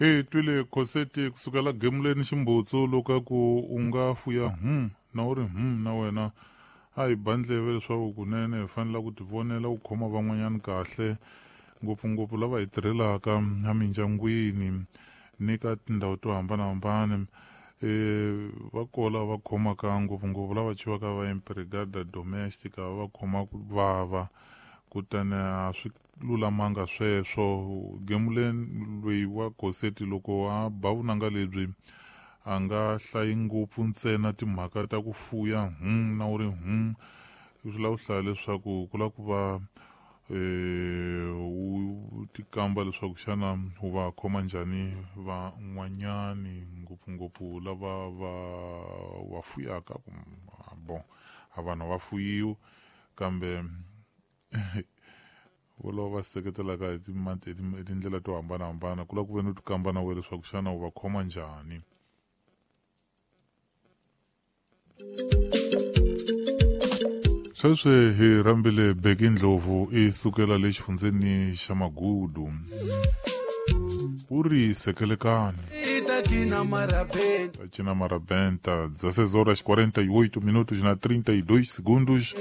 Hi twile Khoseti kusukela gemuleni ximbutsu loko a ku u nga fuya na u ri na wena a hi ba ndleve leswaku kunene hi fanele ku tivonela ku khoma van'wanyana kahle, ngopfungopfu lava hi tirhelaka emindyangwini ni ka tindhawu to hambanahambana. Va kola va khomaka ngopfungopfu lava chiwaka va empregada domestica, va khoma ku vava, kutani a swi lulamanga sweswo. Gemuleni loyi wa Khoseti loko a ba vunanga lebyi a nga hlayi ngopfu ntsena timhaka ta ku fuya na u ri swi lava ku hlaya leswaku ku lava ku va u tikamba leswaku xana u va khoma njhani van'wanyani, ngopfungopfu lava va va fuyaka. Bon, a vanhu va fuyiwi, kambe volava va seketelaka hi tindlela to hambanahambana, ku lava ku ve ni u tikamba na wena leswaku xana u va khoma njhani. Sweswi hi rhambile Beki Ndlovu i sukela le xifundzeni xa Magudu, u ri sekelekani ta cina marabenta. 16 horas 48 minutos na 32 segundos.